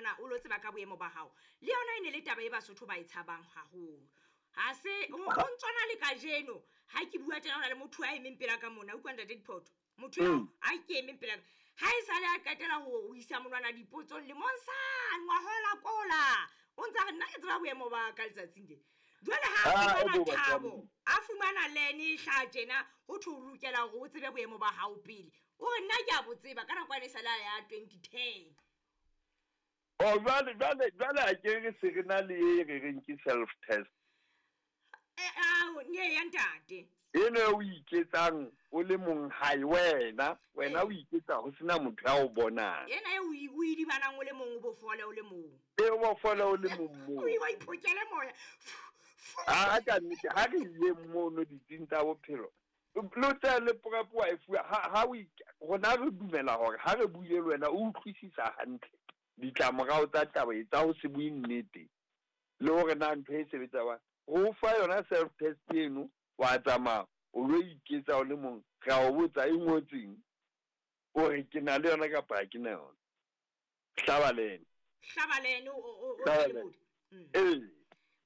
monana o lo tseba ka boemo ba gago le yona e ne le taba e Basotho ba e tshabang gagolo. Ga se go ntswana le kajeno ga ke bua tjena, go na le motho a emeng pela ka mona. Utlwa, ntate Diphoto, motho eo a ke emeng pela ga e sale a qetela go isa monwana dipotsong lemong sane ngwahola kola, o ntse a re nna ke tseba boemo ba ka letsatsing le. Jwale ha a fumana thabo, a fumana lene e hlaha tjena, ho thwe o lokela hore o tsebe boemo ba hao pele, o re nna ke a bo tseba ka nako ane e sale a ya 2010. Oh, jwale a ke re se re na le e re reng ke self test. Ao ne ya ntate. Eno o iketsang o le mong hae, wena o iketsa ho sena motho ya o bonang. Ena e o idibanang o le mong, o bo fole o le mong. E o bo fole o le mong moo. O iphokele moya. A ka nnete ha re ile mono ditsing tsa bophelo, le tse le PrEP wa e fuwa ha o rona re dumela hore ha re buile le wena o utlwisisa hantle ditlamorao tsa taba e tsa ho se bue nnete le hore na ntho e sebetsa jwang. Ho fa yona self test eno, wa tsamaya o lo iketsa o le mong, re a o botsa e ngotsweng, o re ke na le yona kapa ha ke na yona. Hlaba lene. Hlaba lene o Hlaba lene. Ee.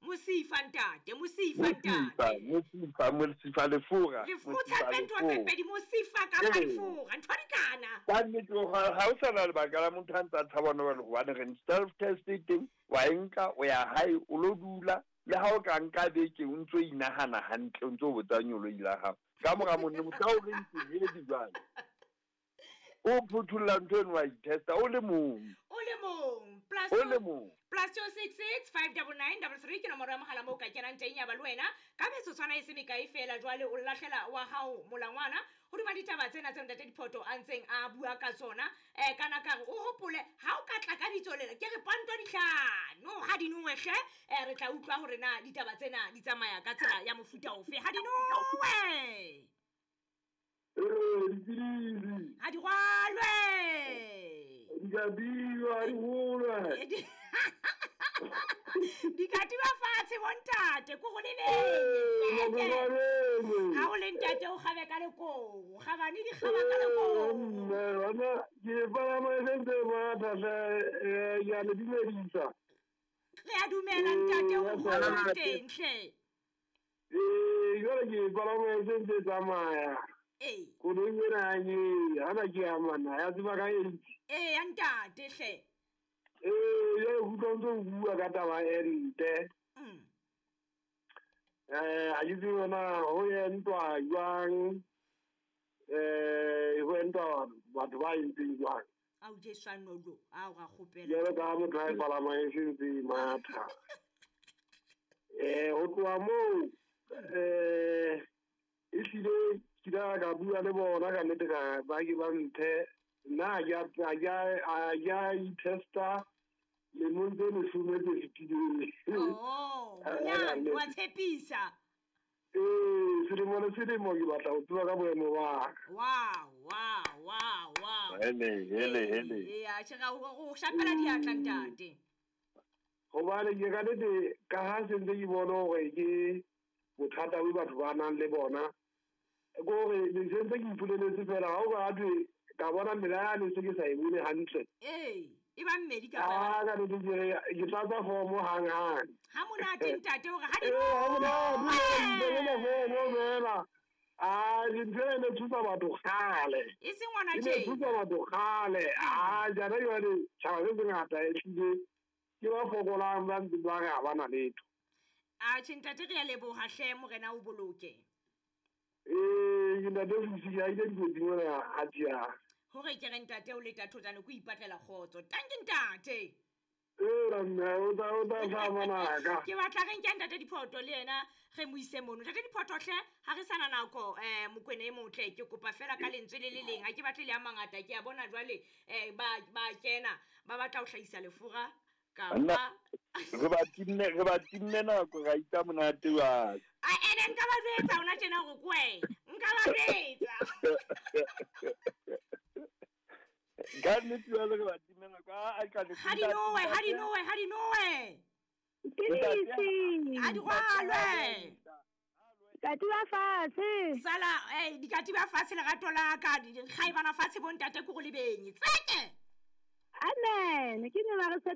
Mosifa ntate, mosifa ntate. Mosifa, mosifa lefura. O tshepe ntho tse pedi, mosifa kapa lefura, ntho di kana. Ka nnete ha o sa na lebaka la motho a ntse a tshaba hona jwale, hobane re self test e teng, wa e nka, o ya hae, o lo dula, le ha o ka nka beke o ntso inahana hantle, o ntso botsa nyoloi la hao. Ka mora monne mohla o reng ke ready jwale, o phuthulla ntho eno, wa itesta o le mong. O le mong. Plus O le mong. +266 599 33 ke nomoro ya mogala moo o ka kenang teng ya ba le wena ka metsotswana e se mekae fela. Jwale o lahlela wa hao molangwana hodima ditaba tsena tse ntate Diphoto a ntseng a bua ka tsona. Kana ka re o hopole ha o ka tla ka bitso lena, ke re panto dihlano ha di nowe hle. Re tla utlwa hore na ditaba tsena di tsamaya ka tsela ya mofuta ofe. Ha di nowe. Ee, ha di rwalwe. Di ka biwa, di holwe. Di ka tiba fatshe bontate, ko go lebeng. Ha o le ntate o kgabe ka lekobo, kgabane di kgaba ka lekobo. Mme, bona, ke palama e sentse matha hle, ke a le dumedisa. Re a dumela ntate, o kgona teng hle. Ee, jwale ke palama e sentse tsamaya. Ee. Koloi ena ke hana ke ya mana, ya tseba ka eng? Ee, ya ntate hle. Ee, jwale ke utlwa o ntso o bua ka taba e nte. Ha ke tsebe hore na ho entwa jwang, ho entwa batho ba entseng jwang. Ao Jesu a nolo, ao ra kgopela. Jwalo ka motho a e palamang e sentse e matha. Ho tloha moo, ehlile ke ile ka bua le bona ka nnete, ka ba ke ba mphe. Nna ha ke a itesta lemong tse 10 tse fetileng. Oh, bonyane wa tshepisa. Ee, selemo le selemo ke batla ho tseba ka boemo ba ka. Wow, wow, wow, wow. Hele, hele, hele. Ee, atjhe, ra o shapela diatla ntate. Hobane ke ka nnete, ka ha se ntse ke bona hore ke bothata bo batho ba nang le bona, ke hore le se ntse ke ipoleletse fela, ha o ka thwe ka bona mela yane se ke sa e bone hantle. Ee, e ba mmedi ka Ah, ka nnete ke re, ke tlatsa formo hang-hang. Ha monate ntate hore ha di Ee, ha monate, Ee. ke tlatsa formo fela. Ah, dintho ena e thusa batho kgale. E seng hona E ne tje. thusa batho kgale. Ah, jana jwale tjhaba se sengata ehlile ke ba fokolang ba ntseng ba re ha ba na letho. Atjhe ntate, re a leboha hle, morena o boloke. Ee, ke ntate Fusi, ha ile dikotsing mona ha tjea. Hore ke re ntate o leta thotane ko ipatlela kgotso. Tanki ntate. Ee, ra mme, o tla hlaha ngwanaka. Ke batla re nke ntate Diphoto le yena re mo ise mono. Ntate Diphoto hle, ha re sana nako, Mokwena e motle, ke kopa fela ka lentswe le le leng. Ha ke batle le a mangata, ke a bona jwale, ba kena, ba batla ho hlahisa lefura kapa Nna, re ba timme nako, ra itsa monate wa. A, ene nka ba jwetsa hona tjena hore ke wena. Nka ba jwetsa. Ka nnete jwale re ba timme nako. A, a ka le Ha di nowe, ha di nowe, ha di nowe. Ke disi. Ha di rwalwe. Katiba fatshe. Sala, dikatiba fatshe lerato la ka, kgaebana fatshe bo ntate ko go le benye. Tseke. Amen. Ke ne ba re